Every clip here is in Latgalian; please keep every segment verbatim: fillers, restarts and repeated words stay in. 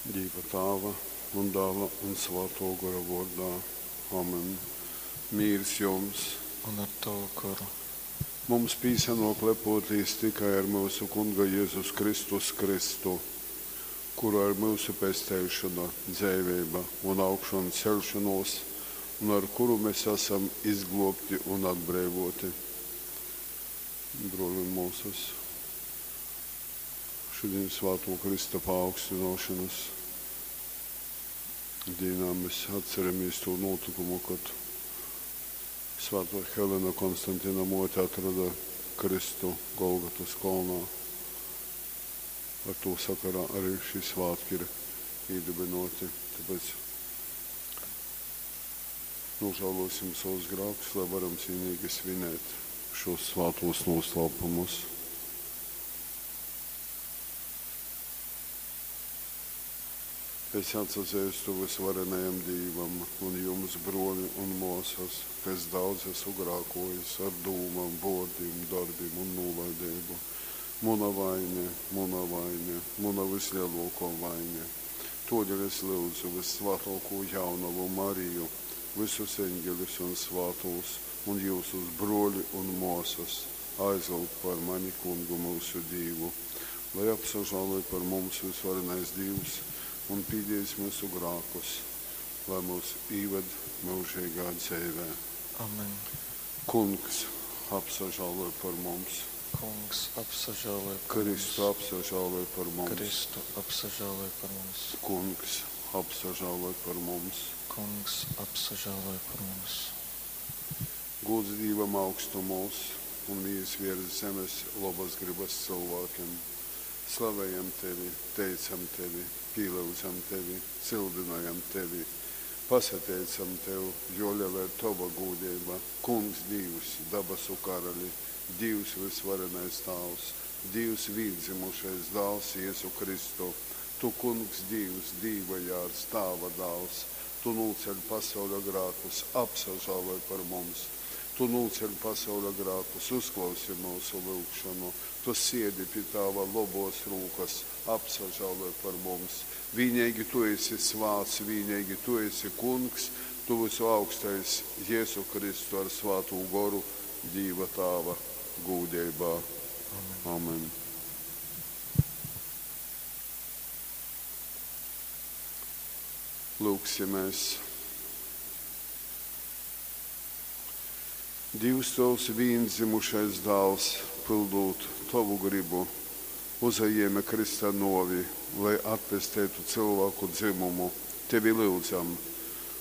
Dīva Tāva un Dāla un Svātō Gora vōrdā. Amen. Mīrs jums! Un ar tovu goru. Mums pīsanōk lepōtīs tikai ar myusu Kunga Jezus Kristus krystu, kurā ir myusu pesteišona, dzeiveiba un augšanceļšonōs un ar kuru mes asam izglōbti un atbreivōti. Brōli un mōsas, šodien svātō Krista paaugstināšanas dīnā mēs atceramies to notikumu, kad Svētā Helena Konstantina mote atrada Kristu Golgatas kolnā. Ar to sakarā arī šī svētki ir iedibināti. Tāpēc nožēlosim savus grēkus, lai varam cienīgi svinēt šos svētos noslēpumus. Es atsazīstu visvarenajam Dīvam un jums, broļi un māsas, ka es daudz esmu grēkojis ar dūmām, vārdiem, darbiem un nolaidību. Muna vaine, muna vaine, muna vislielākā vaine. Todēļ es lūdzu vissvētāko jaunavu Mariju, visus eņģeļus un svētos, un jūsus broļi un māsas, aizlūgt par mani kungu mūsu Dīvu, lai apsažāloj par mums visvarenais Dievs un pīdīs mūsu grākus, lai mūs īved mūžīgā dzīvē. Amen. Kungs, apsažāloj par mums. Kungs, apsažāloj par Kristu, mums. apsažāloj par mums. Kristu, apsažāloj par mums. Kungs, apsažāloj par mums. Kungs, apsažāloj par mums. Gods Dievam augstumos un mīrs virs zemes labas gribas cilvēkiem. Slavējam tevi, teicam tevi, pielūdzam tevi, cildinājam tevi, pasateicam tev, jo liela ir tava gūdība, Kungs Dievs, dabasu karali, Dievs visvarenais Tāvs, Dievs vīndzimušais dāls Jēzu Kristu. Tu, Kungs Dievs, Dīva jārs, Tāva dāls, tu nūceļ pasauļa grākus, apsažāloj par mums. Tu nūceļ pasauļa grākus, uzklausi mūsu lūgšanu. Tu siedi pie Tāva lobos rūkas, apsažāloj par mums. Vienīgi tu esi svāts, vienīgi tu esi kungs, tu visu augstais Jēzu Kristu ar svātu goru Dīva Tāva gūdībā. Amen. Amen. Lūksimies. Dievs tavs viendzimušais dāls, pildot tavu gribu, uzajēma Krista novi, lai atpestētu cilvēku dzimumu. Tevi lūdzam,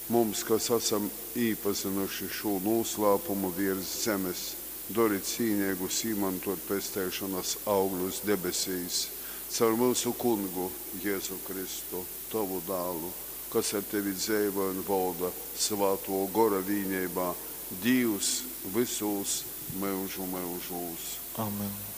mums, kas esam īpazinuši šo noslēpumu virs zemes, dari cīnīgus izmantot pestēšanas augļus debesīs, caur mūsu kungu Jēzu Kristu, tavu dālu, kas ar tevi dzīvo un valda svāto gora vīnībā, Dievs visos mūžu mūžos. Amen.